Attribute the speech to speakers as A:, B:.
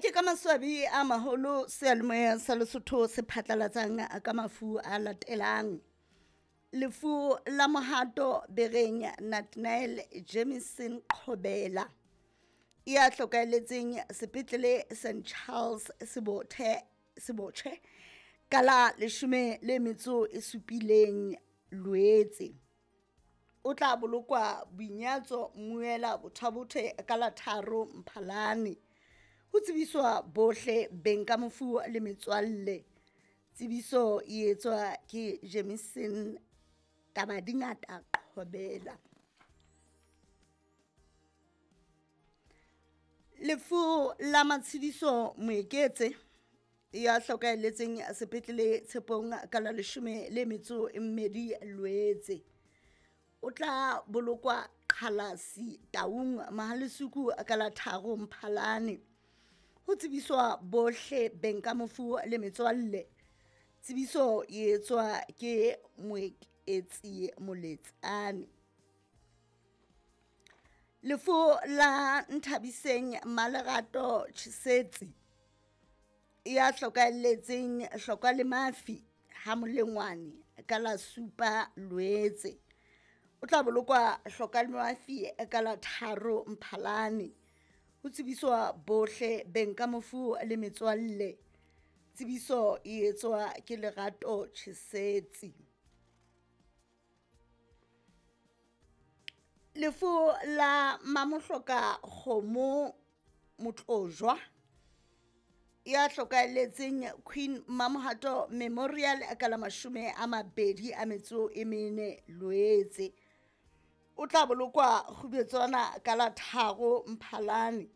A: Ke ka maswabi a maholo seyalemoya sa Lesotho se phatlalatsang ka mafu a latelang. Lefu la Mohato Bereng Nathaniel Jamison Qhobela ya hlokahelletseng sepetlele St Charles Sebothe Sebotjhe ka la 17 Loetse. O tla bolokwa boinyatso Mmuela Bothabothe ka la 3 Mphalane. Ho tsebiswa bohle beng ka mofu le metswalle. Tsebiso e etswa ke Jamison Tabadingata Qhobela. Lefu la Matshidiso Moeketse ya hlokahelletseng sepetlele Tshepong ka la 12 Loetse. O tla bolokwa Qhalasi Taung Mahalesuku ka la 3 Mphalane. Ho tsebiswa bohle beng ka mofu le metswalle. Tsebiso e etswa ke Moeketsi Moletsane. Lefu la Nthabiseng Malerato Chisetsi ya hlokahelletseng Hloka le Mafi ha Molengwane ka la 7 Loetse. O tla bolokwa Hloka le Mafi ka la 3 Mphalane. Ho tsebiswa bohle beng ka mofu le metswalle. Tsebiso e etswa ke Lerato Chisetsi. Lefu la Mamohloka Kgomo Motlojwa ya hlokahelletseng Queen Mamohato Memorial ka la 24 Loetse. O tla bolokwa Kgubetswana ka la 3 Mphalane.